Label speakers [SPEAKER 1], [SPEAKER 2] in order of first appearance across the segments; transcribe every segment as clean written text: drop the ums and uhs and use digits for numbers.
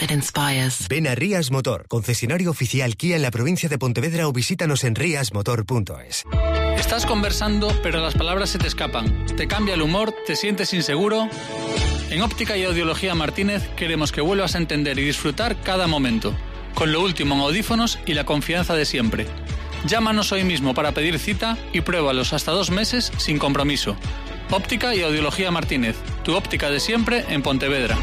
[SPEAKER 1] that inspires.
[SPEAKER 2] Ven a Rías Motor, concesionario oficial Kia en la provincia de Pontevedra, o visítanos en riasmotor.es.
[SPEAKER 3] Estás conversando, pero las palabras se te escapan. ¿Te cambia el humor? ¿Te sientes inseguro? En Óptica y Audiología Martínez queremos que vuelvas a entender y disfrutar cada momento, con lo último en audífonos y la confianza de siempre. Llámanos hoy mismo para pedir cita y pruébalos hasta 2 meses sin compromiso. Óptica y Audiología Martínez, tu óptica de siempre en Pontevedra.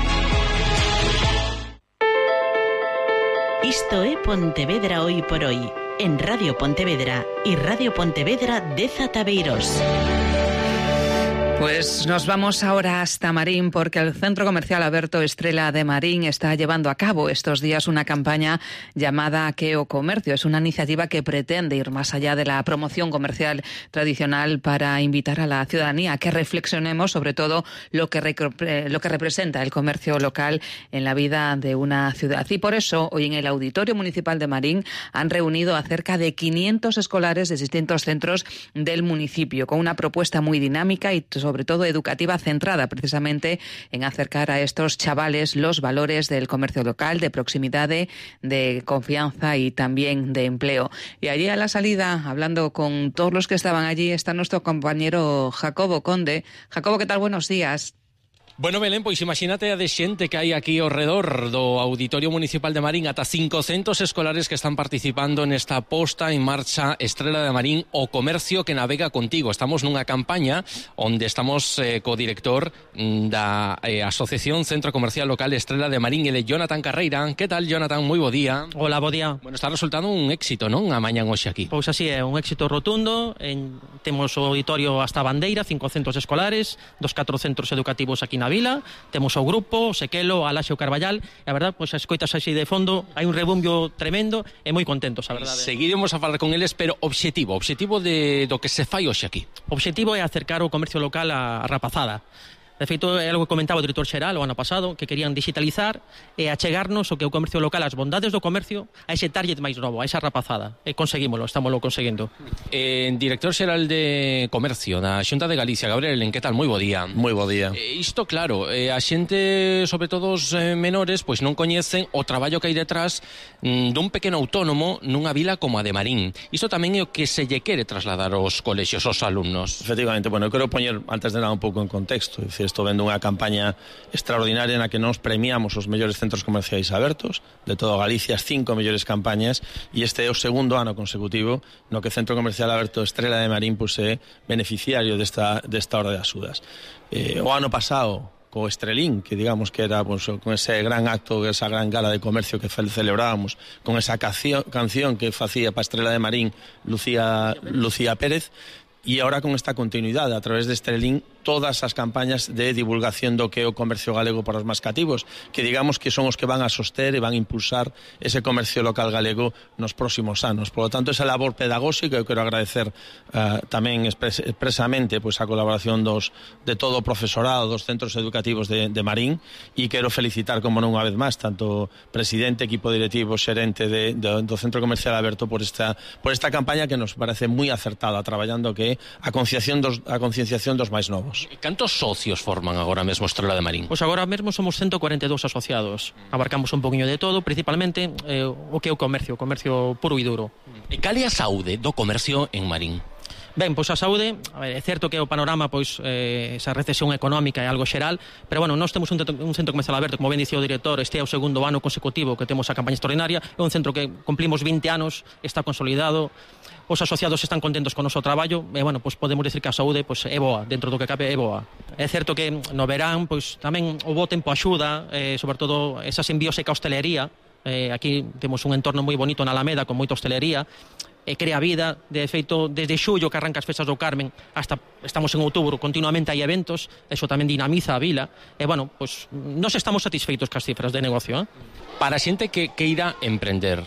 [SPEAKER 4] Isto é Pontevedra Hoy por Hoy, en Radio Pontevedra y Radio Pontevedra de Zataveiros.
[SPEAKER 5] Pues nos vamos ahora hasta Marín, porque el Centro Comercial Alberto Estrela de Marín está llevando a cabo estos días una campaña llamada Queo Comercio. Es una iniciativa que pretende ir más allá de la promoción comercial tradicional para invitar a la ciudadanía a que reflexionemos sobre todo lo que representa el comercio local en la vida de una ciudad. Y por eso, hoy en el Auditorio Municipal de Marín han reunido a cerca de 500 escolares de distintos centros del municipio, con una propuesta muy dinámica y sobre todo educativa, centrada precisamente en acercar a estos chavales los valores del comercio local, de proximidad, de confianza y también de empleo. Y allí a la salida, hablando con todos los que estaban allí, está nuestro compañero Jacobo Conde. Jacobo, ¿qué tal? Buenos días.
[SPEAKER 6] Bueno, Belén, pois imagínate a de xente que hai aquí ao redor do Auditorio Municipal de Marín, ata 500 escolares que están participando nesta posta en marcha Estrela de Marín, o comercio que navega contigo. Estamos nunha campaña onde estamos co director da Asociación Centro Comercial Local Estrela de Marín, ele Jonathan Carreira. Que tal, Jonathan? Moi bo día.
[SPEAKER 7] Hola, bo día.
[SPEAKER 6] Bueno, está resultando un éxito, non? A mañan hoxe aquí.
[SPEAKER 7] Pois así é, un éxito rotundo. Temos o auditorio hasta a bandeira, 500 escolares, dos 4 centros educativos aquí na vila, temos o grupo, o Sequelo, a Laxe, o Carballal, e a verdade, pois as coitas así de fondo, hai un rebumbio tremendo e moi contentos, a verdade.
[SPEAKER 6] Seguiremos a falar con eles, pero objetivo do que se fai hoxe aquí.
[SPEAKER 7] O objetivo é acercar o comercio local á rapazada. De feito, é algo que comentaba o director xeral o ano pasado, que querían digitalizar e achegarnos o que o comercio local, as bondades do comercio, a ese target máis novo, a esa rapazada. E conseguímolo, estámoslo conseguindo.
[SPEAKER 6] Director xeral de Comercio da Xunta de Galicia, Gabriel, en que tal? Moi bo día.
[SPEAKER 8] Moi bo día.
[SPEAKER 6] Isto, claro, a xente, sobre todo os menores, pois non coñecen o traballo que hai detrás dun pequeno autónomo nunha vila como a de Marín. Isto tamén é o que se lle quere trasladar aos colexios, aos alumnos.
[SPEAKER 8] Efectivamente, bueno, eu quero poñer, antes de nada, un pouco en contexto. É dicir, estou vendo unha campaña extraordinaria na que nos premiamos os mellores centros comerciais abertos de toda Galicia, as 5 mellores campañas, e este é o segundo ano consecutivo no que Centro Comercial Aberto Estrela de Marín pues, é beneficiario desta Hora de Axudas. O ano pasado, co Estrelín, que digamos que era pues, con ese gran acto, esa gran gala de comercio que celebrábamos, con esa canción que facía para Estrela de Marín Lucía Pérez, e agora con esta continuidade a través de Estrelín, todas as campañas de divulgación do que é o comercio galego para os máis cativos, que digamos que son os que van a soster e van a impulsar ese comercio local galego nos próximos anos. Por lo tanto, esa labor pedagóxica, eu quero agradecer tamén expresamente pues, a colaboración de todo o profesorado dos centros educativos de Marín, e quero felicitar, como non unha vez máis, tanto presidente, equipo directivo, xerente do Centro Comercial Aberto por esta campaña que nos parece moi acertada, traballando que a concienciación dos máis novos.
[SPEAKER 6] Cantos socios forman agora mesmo Estrela de Marín?
[SPEAKER 7] Pois agora mesmo somos 142 asociados. Abarcamos un poquinho de todo, principalmente o que é o comercio puro e duro.
[SPEAKER 6] E cal é a saúde do comercio en Marín?
[SPEAKER 7] Ben, pois a saúde, é certo que o panorama, pois, esa recesión económica é algo xeral, pero, bueno, nós temos un centro comercial aberto, como ben dicía o director, este é o segundo ano consecutivo que temos a campaña extraordinaria, é un centro que cumplimos 20 anos, está consolidado, os asociados están contentos con o noso traballo, e, bueno, pois podemos decir que a saúde pois, é boa, dentro do que cabe é boa. É certo que no verán, pois, tamén o bo tempo axuda, sobre todo esa simbiose ca hostelería, aquí temos un entorno moi bonito na Alameda, con moita hostelería, e crea vida. De feito, desde xullo que arranca as festas do Carmen hasta estamos en outubro, continuamente hai eventos, eso tamén dinamiza a vila, e, bueno, pois, nós estamos satisfeitos cas cifras de negocio.
[SPEAKER 6] Para a xente que queira emprender,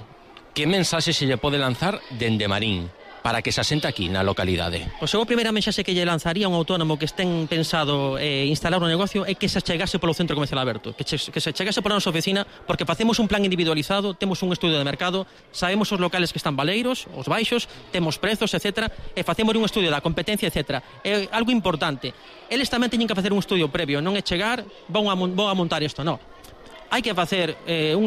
[SPEAKER 6] que mensaxe se lle pode lanzar dende Marín para que se asente aquí na localidade?
[SPEAKER 7] Pois eu a primeira mensaxe que lle lanzaría a un autónomo que estén pensado instalar un negocio é que se chegase polo Centro Comercial Aberto, que se chegase pola nosa oficina, porque facemos un plan individualizado, temos un estudio de mercado, sabemos os locales que están baleiros, os baixos, temos prezos, etc. E facemos un estudio da competencia, etc. É algo importante. Eles tamén teñen que facer un estudio previo, non é chegar, vou a montar isto, non. hai que facer un